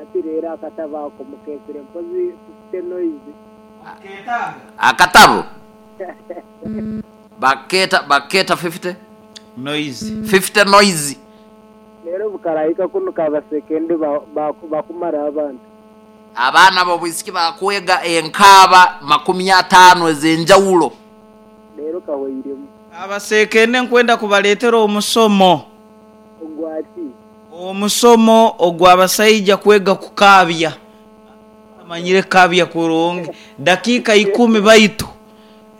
Hati rero akatabo ako mukesire mpozi 50 noise. Akatabo baketa baketa 50 Noise. 50 noise. Rero bukarahika kunu kabasekende bakumara abantu. Abaana b'obwisiki bakwega enkaaba 50 ez'enjawulo. Rero kahweiremu. Abasekende nkwenda kubaleetera omusomo. Ogwaki? Omusomo ogw'abasaija kwega kukaabya. Amanyire kaabya kurungi. Dakiika 10 baitu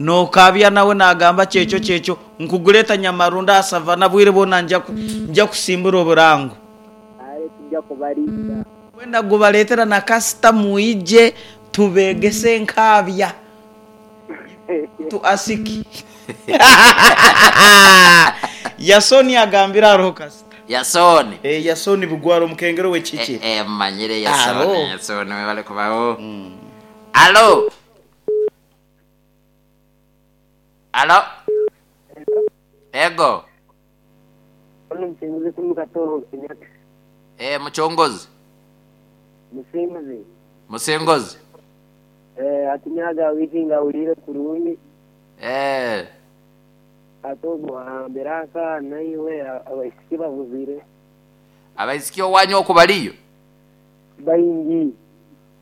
n'okaabya nawe n'agamba kyekyo kyekyo nkuguleta Nyamarunda asavana bwire bwona nja kusimbura oburango. Aye tujja kubalinda. Kwenda gubaleetera na kasita mwije tubegese enkaabya. Tu asiki. Yasoni agambira aroho kasita. Yasoni. Yasoni bugwaro omukengero w'ekiki. Manyire Yasoni. Aro. Yasoni webale kubaho. Alo. Alo. Ego. Ono musinguzi kunu Katoro Kenyatta. Muchongozi. Musinguzi. Musingozi. Atinyaga wiki ngawulire kurungi. Ate oguhambira akaana iwe abaisiki babuzire. Abaisiki owanyu oku baliyo? Baingi.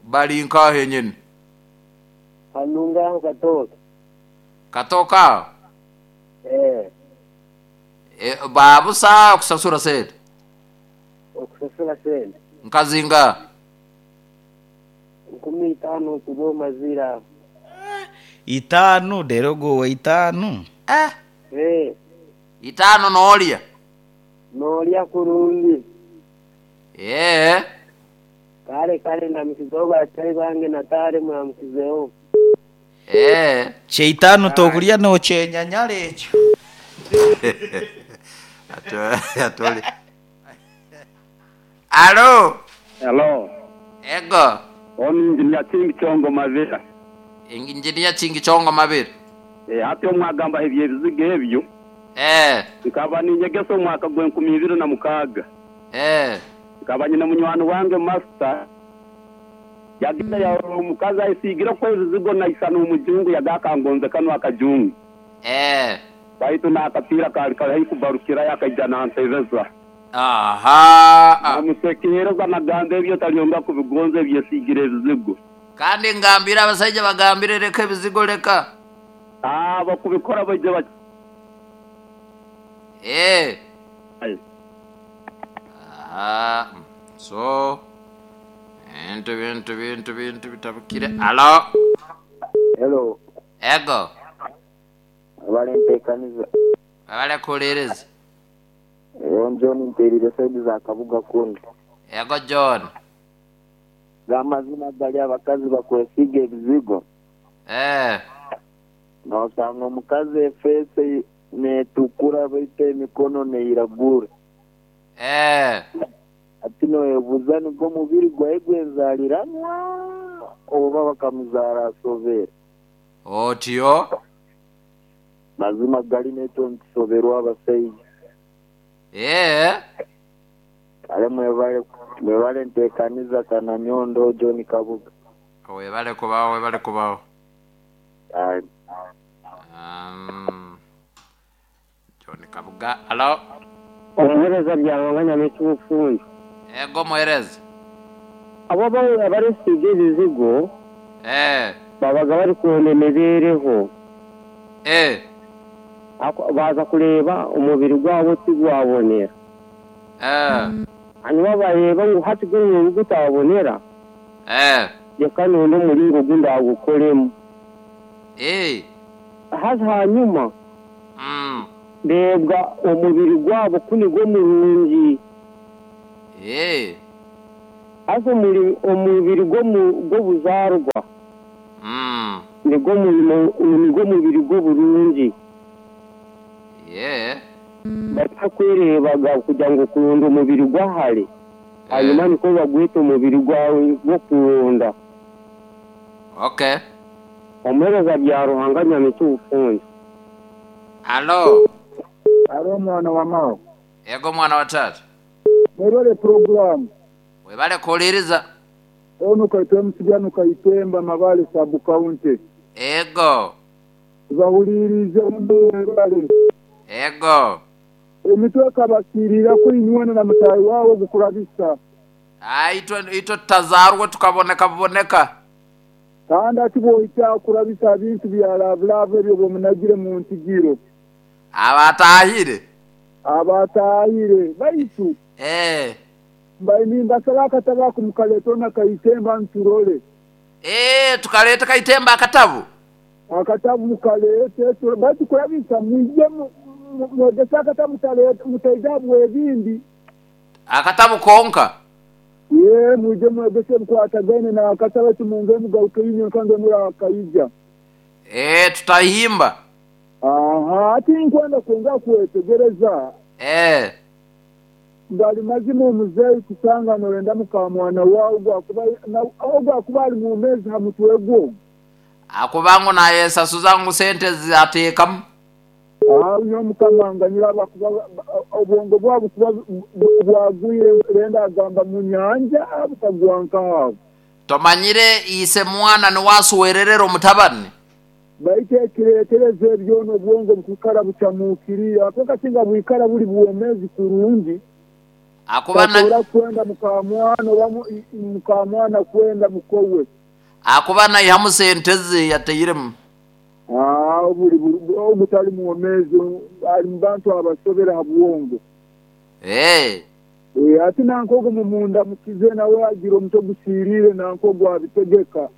Bali nkahe nyene? Hanunga aho Katooke. Katooke aho? Babusa okusasura sente? Okusasura sente. Nkazinga? 15 okuba omazire aho. 5 rero gowe 5. 5 noolya? Noolya kurungi. Kale kale ndamukizeho bataahi bange nataare muramukizeho. Kyeitaano tokulya nokyenyanyala ekyo. Atole. Alo. Hello. Ego. Ono engineer Chingi Chongo Mabira. Engineer Chingi Chongo Mabira. Hati omwagamba eby'ebizigo ebyo. Nkaba ninyegesa omwaka gw'enkumi ibiri na mukaaga. Nkaba nyine munywani wange master. Yagenda yarora omukazi aisiigireku ebizigo naisana omujungu yagakangonze kanu akajungu. Baitu n'akapiira kaali kali haihi kubarukirayo akaija nantebeza. Namusekereza nagamba ebyo talyonga kubigonza ebyesiigire ebizigo. Kandi ngambire abasaija bagambire leka ebizigo leka. Bakubikora baije bati. So bintu bintu bintu bintu bitabukire. Alo. Hello. Ego. Abale ntekaniza. Abale kulereza. John nterire saidi za Kabuga kundi. Ego John. Gamazima gali abakazi bakwesiga ebizigo. Nosanga omukazi efeese netukura baita emikono neiragura. Ati noyebuza nigwo omubiri gwawe gwenzaliranwa oba bakamuzaara asobere. Otyo. Mazima gali nekyo nitusoberwa abasaija. Kale mwebale ntekaniza Kananyondo John Kabuga. Webale kubaho, webale kubaho. John Kabuga, alo. Omuhereza byanga Nyamiti obufunjo. Ego muhereza. Abo abarisiga ebizigo babaga bari kuronda emibeereho. Baza kureba omubiri gwabo tigwabonera. Hanyuma bareba ngu hati guri omubiri gutabonera. Reka nonde omuringo ogu ndagukoremu. Haza hanyuma rebwa omubiri gwabo ku nigwo murungi. Haza omubiri gw'obuzarwa nigwo mubiri gw'oburungi. Batakwerebaga kugira ngu kuronda omubiri gwahare. Hanyuma niko bagwita omubiri gwawe gw'okuronda. Omuhereza bya Ruhanga Nyamiti obufunjo. Alo. Alo mwana wa mao. Ego mwana wa tata. Mwebale programu. Webale kuhuliriza. Onu kaitwe Kaitemba Mabale sub county. Ego. Bahulirize mbale. Ego. Emitwe kabasirira kuinywana na mutayi wawe gukurabisa. Itwe tutazarwe tukaboneka buboneka. Kandi ati bwoita kurabisa bintu bya love ebyo bwomunagire mu ntigiro. Abatahire. Abatahire baitu. Mbaini akatabo akumukaleta na Kaitemba nturole. Tukaleta Kaitemba akatabu. Akatabu mukalete baitu kurabisa mwije mwegesa akatabu mutaleta mutaija ebindi. Akatabu konka. Ye mwije mwegese mkwatagane na akatabo tumunge mugaruke inyo kange muri akaija. Tutahimba. Aha, ati nkwenda kwenga kwetegereza. Ngali mazima omuzeeyi kusanga norenda mukamwana wawe gwakuba ali mumezi ha mutwe gwo. Akubangu nayesasuza ngu sente zateekamu. Nyo mukama nganyira abakuba obwongo bwabo kuba bwagwire renda agamba mu nyanja bukagwa nkaabo. Tomanyire ise mwana niwasuwererera omutabani. Baite ekireetereza ebyono obwongo bukikara bucamukiriya ate kasinga bwikara buli bwomezi kurungi. Akubana kwenda mukamwana oba mukamwana kwenda mukowe. Akubana ihamu sente ze yateiremu. Buli ogutali mwomezi ali mu bantu abasobera ha bwongo. Ati nankogo mumunda mukize nawe agira omutwe gusirire nankogo abitegeka.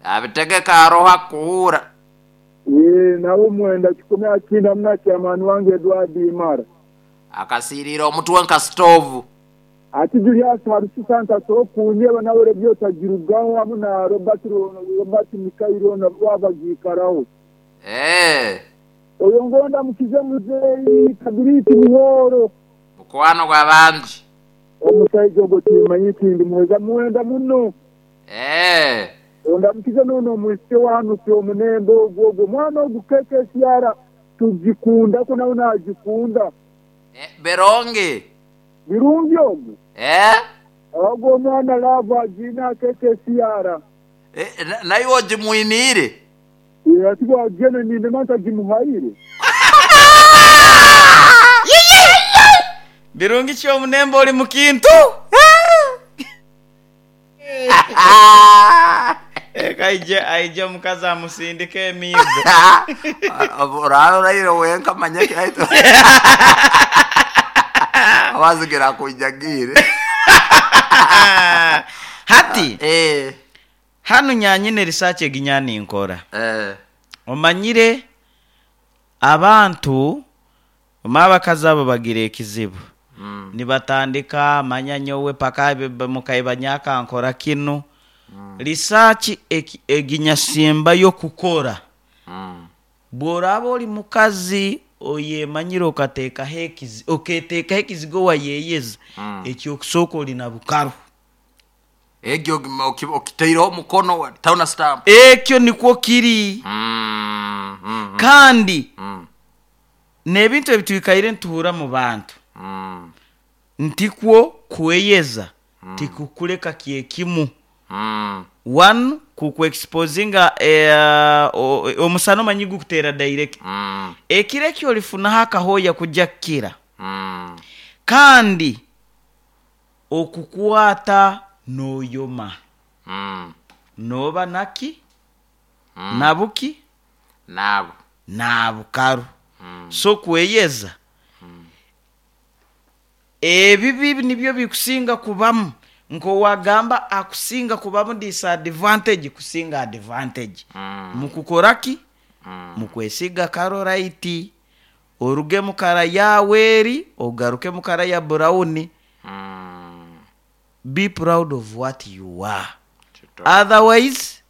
Abitegeka aroha kuhura. Nawe mwenda kikumi akinda muna kyamani wange Edward Imara. Akasirira omutwe nka stovu. Ati Julius Harusi Santa sokunyeba nawe rebyo tagirugaho hamwe na Robert Mikairo na wabagikaraho. Oyo ngonda mukize muzeyi Kabiriti Muhoro. Mukwano gwa bangi. Omusajja ogwo timanyi kindi muweza muwenda muno. Onda mukize nono omwisike wanu si omunembe ogwo ogwo mwana ogu KKCR tugikunda ko nawe nagikunda. Beronge. Birungi ogwo. Ogwo omwana lava agina KKCR. Naye ogimwiniire. Ati bwagene ninde manta gimuhaire. Birungi kyo omunembe oli mukintu. Kaije aije mukazi amusindika emiigo. Oraire wenka manya kiraito. Abazigira kujagire. Hati. Hanu nyanyine research eginyani nkora. Omanyire abantu mabakazi abo bagira ekizibu. Nibatandika manyanyowe paka mukaibanyaka nkora kino. Research eginyasimba yo kukora. Bworaba oli mukazi oyemanyire okateeka hekizi oketeeka hekizigo wayeyeza. Ekyo kusoko oli na bukaru. Egyo okiteireho omukono tauna stamp. Ekyo nikwo kiri. Kandi n'ebintu ebitwikaire ntuhura mu bantu. Ntikwo kweyeza tikukuleka kyekimu. One kuku exposinga omusano manyi gukutera direct. Ekire kyo olifuna hakahoya kujakira. Kandi okukwata noyoma. Noba naki? Nabuki? Nabo. Nabukaru. So kweyeza. Ebibi nibyo bikusinga kubamu. Nko wagamba akusinga kubamu disadvantage kusinga advantage. Mukukoraki? Mukwesiga karo right. Oruge mukara ya weri, ogaruke mukara ya brown. Be proud of what you are. Otherwise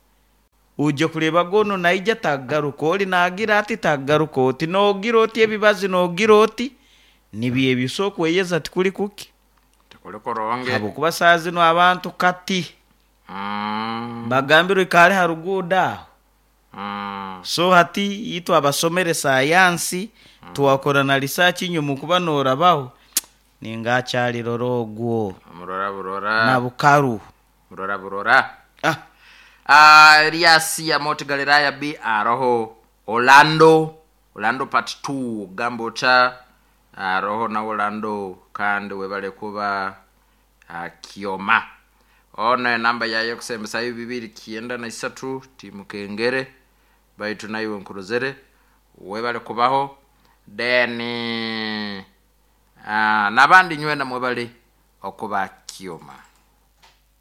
uje kureba gono naija tagaruka oli nagira ati tagaruka oti nogira oti ebibazi nogira oti nibye bisokweyeza tikuli kuki. Kuronge. Abo kuba saa zino abantu kati. Bagambirwe kale haruguda. So hati yitwa abasomere sayansi tuwakora na research nyuma kuba norabaho. Ninga akyalirora ogwo. Murora burora. Na bukaru. Murora burora. Ah. Elias ya Moti Galilaya B aroho Orlando, Orlando part 2 gamba ota aroho na Orlando kandi webale kuba Kioma. Ono enamba yayo kusembesayo 293 timukengere baitu naiwe nkuruzere webale kubaho. Then nabandi nywena mwebale okuba Kioma.